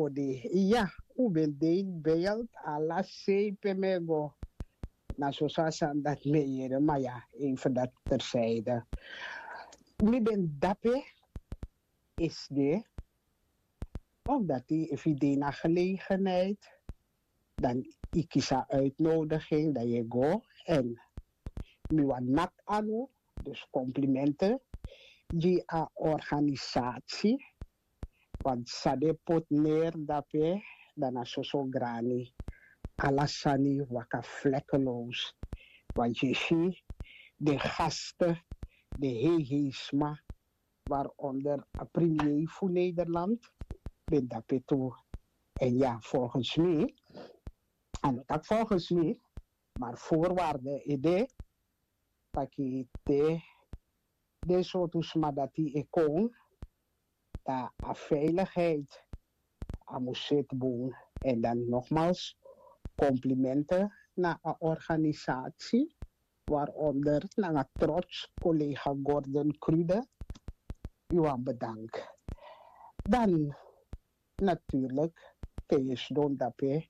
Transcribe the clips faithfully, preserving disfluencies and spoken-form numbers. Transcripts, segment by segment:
Odi, ya, un ben de in beeld ala sei pe mi e go. Na soso a sani dati mi e yere, ma ya, even dati terzijde. Mi ben dape esi de, omdat yu efu yu de na gelegenheid, dan yu kisi a uitnodiging, dan yu e go. En mi wani naki anu, dus komplimente gi a organisasi, want san den poti neri dape, dan na soso grani. Ala sani waka vlekkeloos. Want yu e si den gasten, den heihei sma, waaronder a premier fu Nederland, ben dape tu. En ya, volgens mi, a no taki volgens mi, maar voorwaarde e de taki te den sortu sma dati e kon, dan a veiligheid a mus seti bun. En dan nogmaals, komplimente na a organisatie, waaronder nanga trots collega Gordon Krude. Yu wani bedank. Dan natuurlijk, te yu sidon dape,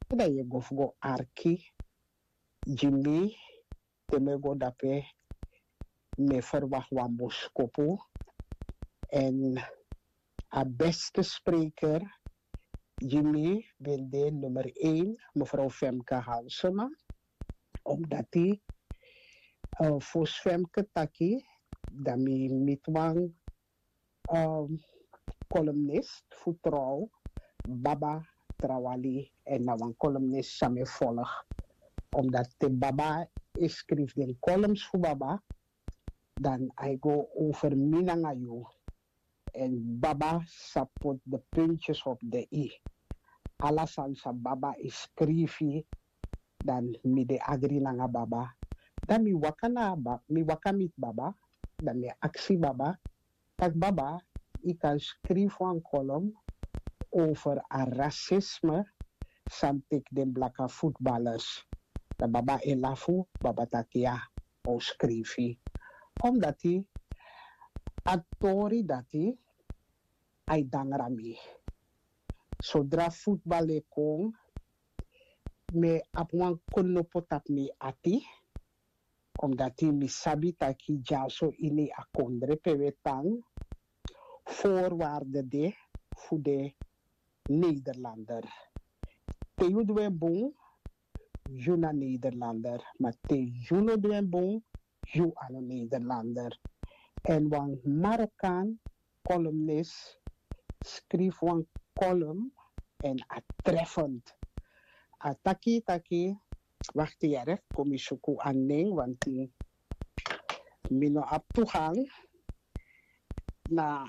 dan yu e go fu go arki gi mi. Te mi e go dape, mi e verwacht wan boskopu. En a beste spreker gi mi ben de nummer één, mevrouw Femke Halsema. Omdat yu, eh, fosi Femke taki, dan mi miti wan, ehm, columnist fu Trouw, Baba Trawali, en na wan columnist san mi e volg. Omdat te Baba e skrifi den columns fu Baba, dan a e go over mi nanga yu. En Baba sa poti de puntjes op de i. Ala sani san Baba e skrifi, dan mi de agri nanga Baba. Dan mi waka na Ba-, mi waka miti Baba, dan mi aksi Baba, taki: Baba, yu kan skrifi wan column over a racisme san teki den blaka voetballers. Dan Baba e lafu, Baba taki: Ya, a o skrifi. Omdati a tori dati a e dangra mi. Sodra voetbal e kon, mi e abi wan knopo tapu mi ati, omdati mi sabi taki dyaso ini a kondre pe wi e tan, voorwaarde de fu de Nederlander. Te yu du en bun, yu na Nederlander, ma te yu no du en bun, yu a no Nederlander. En wan Marokkaan columnist skrifi wan column en a treffend. A taki taki, wakti yere, kon mi suku a nen, want mi no abi toegang na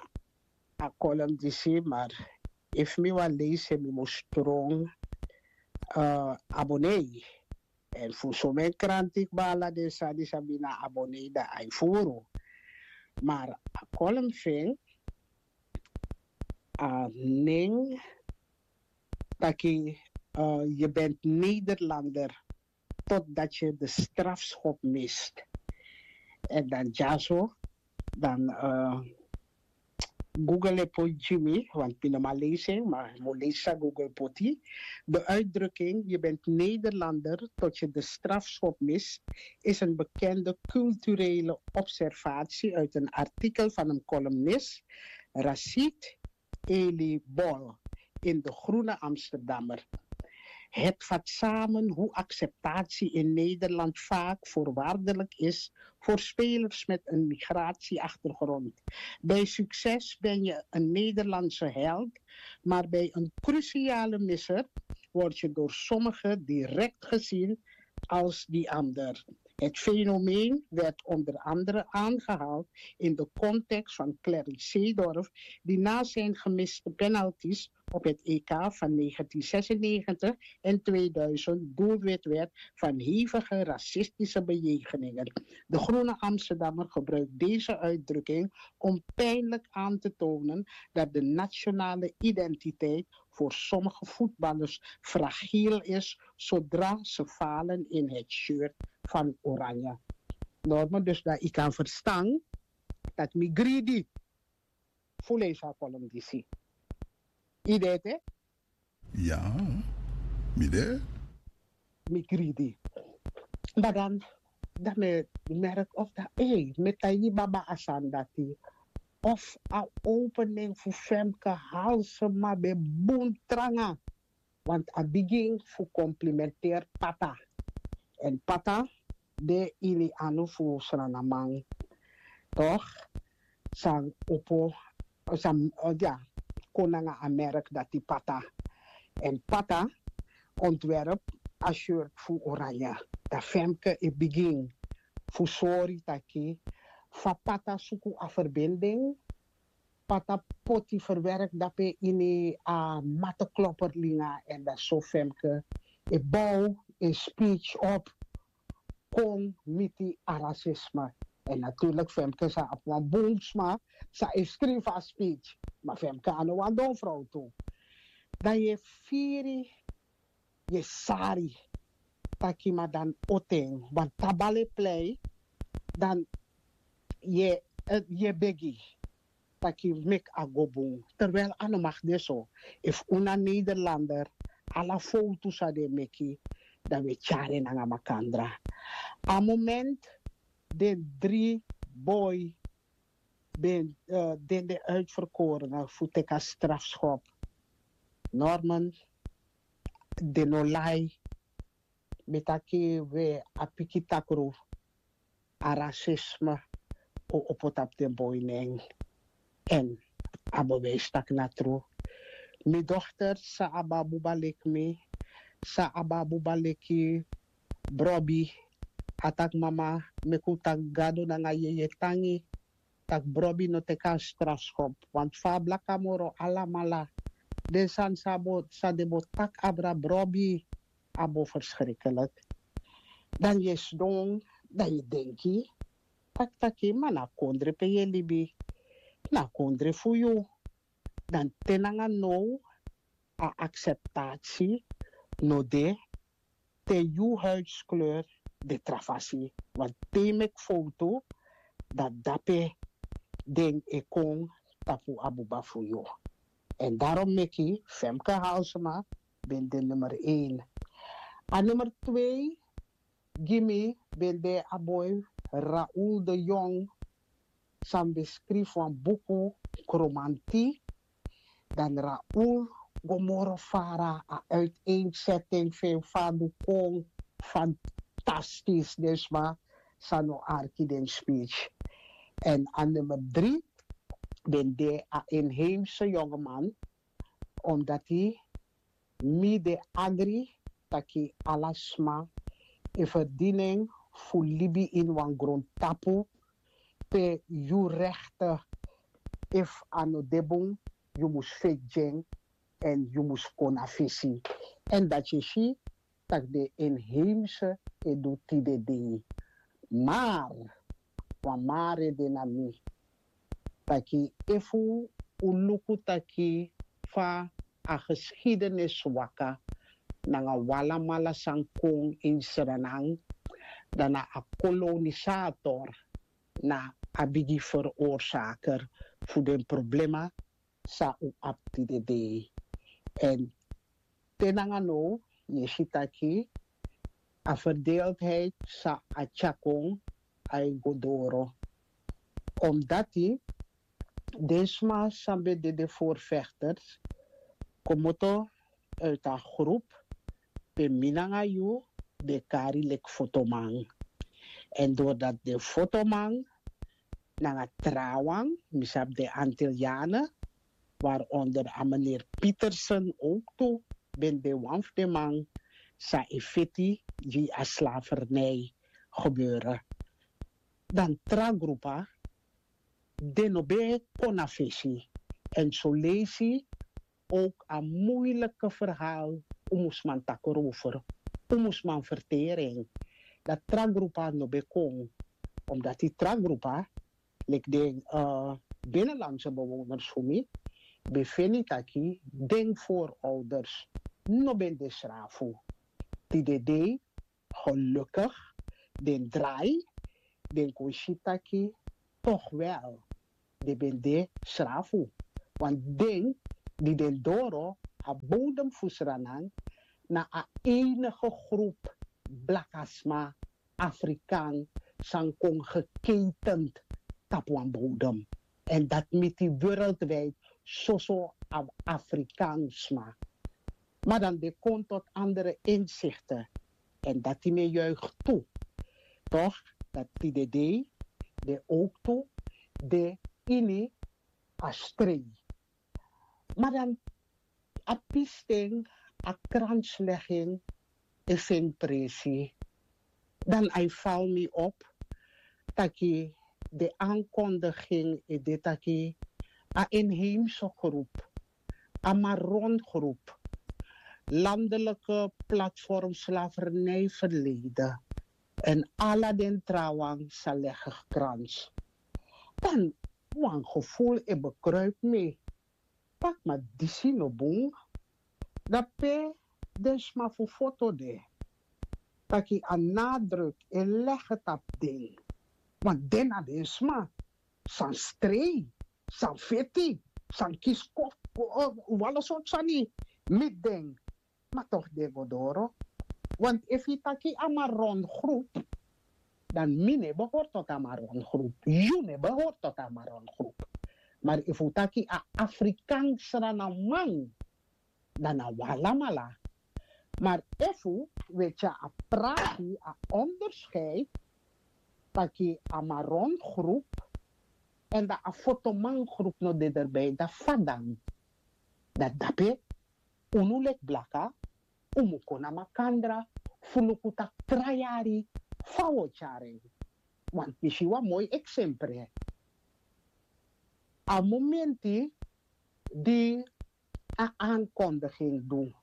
a column disi, maar efu mi wani leisi en, mi mus tron, eh, abonnee. En fu somen kranti kba ala den sani san mi na abonnee, dan a e furu. Maar a column fu en, a nen taki, eh, je bent Nederlander totdat je de strafschop mist. En dan dyaso, dan, eh, Google e poti gi mi, want mi no man leisi, maar mi o leisi san Google poti. De uitdrukking: je bent Nederlander tot je de strafschop mist, is een bekende culturele observatie uit een artikel van een columnist, Rashid Eli Bol, in De Groene Amsterdammer. Het vat samen hoe acceptatie in Nederland vaak voorwaardelijk is voor spelers met een migratieachtergrond. Bij succes ben je een Nederlandse held, maar bij een cruciale misser word je door sommigen direct gezien als die ander. Het fenomeen werd onder andere aangehaald in de context van Clarence Seedorf, die na zijn gemiste penalties op het E K van negentien zesennegentig en tweeduizend doelwit werd van hevige racistische bejegeningen. De Groene Amsterdammer gebruikt deze uitdrukking om pijnlijk aan te tonen dat de nationale identiteit voor sommige voetballers fragiel is zodra ze falen in het shirt van Oranje. Normaal, dus dat yu kan verstan dat mi greedy fu leisi a column disi. Yu de ete, Ya, mi de. Mi gridi. Badan, dan mi merk of dat ei mi taigi baba asan dati. Of a opening fu femke halsema ben bun tranga. Want a bigin fu komplimenteer pata. En pata de ini anu fu sranaman. Toch? San opo, san, oh, ya, kon nanga a merk dati pata. En pata ontwerp a shirt fu oranje. Dan femke e bigin fu sori taki fa pata suku a verbinding. Pata poti verwerk dape ini a mateklopper linga en dan so femke e bow e speech op kon miti a racisme. En natuurlijk femke sa abi wan bun sma sa e skrifi a speech. Ma femke a no wan don vrouw tu. Dan yu e firi, yu e sari taki ma dan oten wan tabale plei dan yu e begi taki meki a go bun. Terwijl a no mag de so. Efu un na nederlander, ala fowtu san den meki, dan wi e tyari en nanga makandra. A moment den dri boi ben den de uitverkorene fu teki a strafschop. Norman, den no lai. Mi taki we a piki takru a rasisme o opo tapu den boi nen. En a bewijs taki na tru. Mi dochter sa abi a buba leki mi, sa abi a buba leki brobi. A taki mama, meki un taki gado nanga yeye tangi. Tak' brobi no teki a strafschop. Want fa a blaka moro alamala, den sani san den bo taki abra brobi a bo verschrikkelik. Dan yu e sidon, dan yu e denki taki taki ma na a kondre pe yu e libi, na a kondre fu yu. Dan te nanga now a akseptasi no de te yu huidskleur de tra fasi. Want te yu meki fowtu, dan dape den e kon tapu a buba fu yu. En darom meki femke halsema ben de nummer een. A nummer twee gi mi ben de a boi Raoul de Jong, san ben skrifi wan buku Kromanti. Dan Raoul go moro fara, a uiteenzetting fu en fa a du kon fantastisch, den sma sa no arki den speech. En a nummer drie ben de a inheemse jongeman, omdat hij mi de agri taki ala sma e verdiening fu libi ini wan grontapu pe yu rechten, efu a no de bun, yu mus feti gi en, en yu mus kon na fesi. En dati e si taki den inheemse e du tide dei. Maar wan maar e de na mi taki efu un luku taki fa a geschiedenis waka nanga un alamala san kon ini Sranan, dan na a kolonisator na a bigi veroorzaker fu den problema san un abi tide dei. En te nanga now yu e si taki a verdeeldheid san a tyari kon, a e go doro. Omdati den sma san ben de den voorvechters komoto uit a groep pe mi nanga yu ben kari leki fotoman. En doordat den fotoman nanga trawan, mi sabi den Antillianen, waaronder a meneer Pietersen ook tu, ben de wan fu den man san e feti gi a slavernij gebeuren. Dan tra grupa, den no ben kon na fesi. En soleisi ook a moeilijke verhaal un mus man taki erover, un mus man verteren. Dan tra grupa no ben kon, omdat die tra grupa leki den binnenlandse bewoners fu mi ben feni taki den voorouders no ben de srafu. Tide dei gelukkig den drai, den kon si taki toch wel den ben de srafu. Want den di den doro a bodem fu Sranan na a enige groep blakasma Afrikaan san kon gekeitent tapu wan bodem. En dat miti wereldwijd soso a Afrikaansma. Maar dan de kon tot andere inzichten. En dat die me juicht toe. Toch? Dat die de dei, de ook toe, de ini a strei. Maar dan a pisting, a kranslegging is in presi. Dan hij val me op taki de aankondiging is dit taki a inheemse groep, a Maron groep, landelijke platform slavernij verleden en ala den trawan zal leggen krans. Dan wan gevoel e bekruip me. Pak ma disi no bun. Dan pe den sma fu foto de taki a nadruk e lege tapu den. Want den na den sma san strei, san feti, san kisi kofu, wala sortu sani miti den. Ma toch den go doro. Want efu yu taki a Maron groep, dan mi no e behori tot a Maron groep, yu no e behori tot a Maron groep. Maar efu taki a Afrikaans Sranaman, dan na wi alamala. Maar efu wi e tyari a prati, a onderscheid taki a Maron groep en dan a Fotoman groep no de erbij, dan fa dan? Dan dape unu leki blaka, un mu kon na makandra fu luku taki tra yari fa wi o tyari en. Want mi si wan moi eksempre. A momenti di a aankondiging du,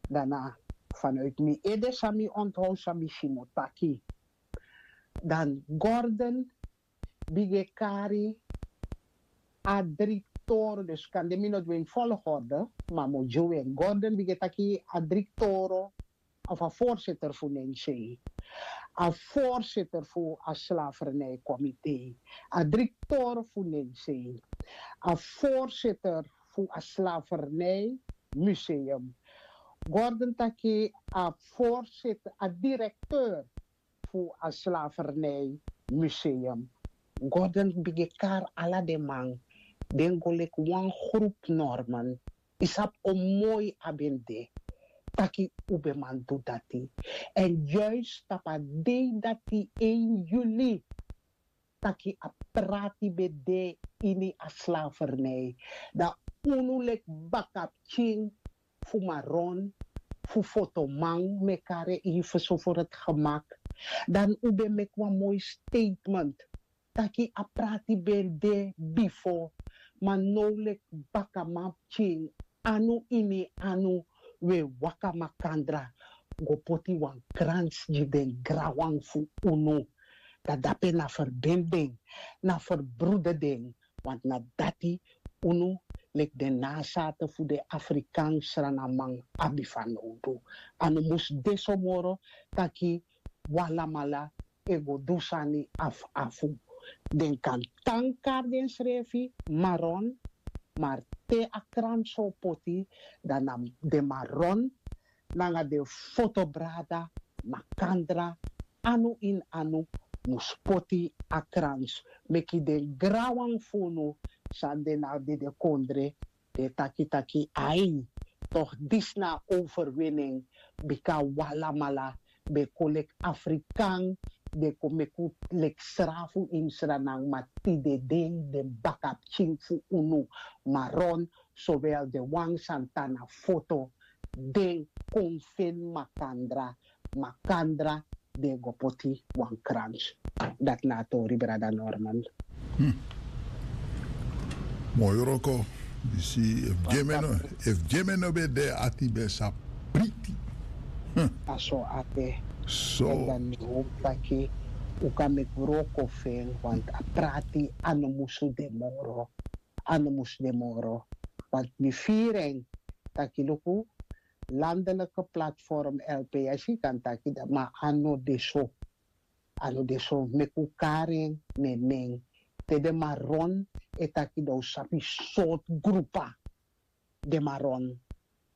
dan na vanuit mi ede san mi onthoud, san mi si mi o taki. Dan Gordon bigin e kari a dri toro, dus kande mi no du en volgorde, ma mi o gi un en. Gordon bigin e taki a dri toro of a voorzitter fu Nensei, a voorzitter fu a slavernijcomité, a dri toro fu Nensei, a voorzitter fu a slavernijmuseum. Gordon taki a voorzitter, a directeur fu a slavernijmuseum. Gordon bigin e kari ala den man, den go leki wan groep Norman. Yu sabi o moi a ben de taki un ben man du dati. En juist tapu a dei dati, één juli, taki a prati ben de ini a slavernij. Dan unu leki bakapikin fu Maron, fu Fotoman, mi e kari en even so voor het gemak. Dan un ben meki wan moi statement taki a prati ben de bifo, ma now leki bakaman pikin, anu ini anu, un e waka makandra go poti wan krans gi den granwan fu unu. Dan dape na ferbinding, na ferbroedering, want na dati unu, leki den nazaten fu den Afrikaans Sranaman, abi fanowdu. A no mus de so moro taki wi alamala e go du sani afu afu. Den kan tan kari densrefi Maron, ma te a krans o poti, dan na den Maron nanga den fotobrada makandra, anu ini anu, mus poti a krans, meki den granwan fu unu san de na dede kondre, den e taki taki ai, toch disi na a overwinning, bika wi alamala ben kon leki Afrikan, den kon meki un leki srafu ini Sranan, ma tide dei den bakapikin fu unu, Maron, zowel den wan san tan na foto, den kon feni makandra, makandra den go poti wan krans. Dati na a tori, brada Norman. Moi wroko. Yu si, efu gi en mi no, efu gi en mi no ben de, ati ben sa priti. A so a de. So. Dan mi hopi taki un kan meki wroko fu en, want a prati a no musu de moro. A no musu de moro. Want mi firi en taki luku, landelijke platform L P S, yu kan taki dat, ma a no de so. A no de so, meki un kari en na en nen. Te den Maron e taki, dan un sabi sortu grupu den Maron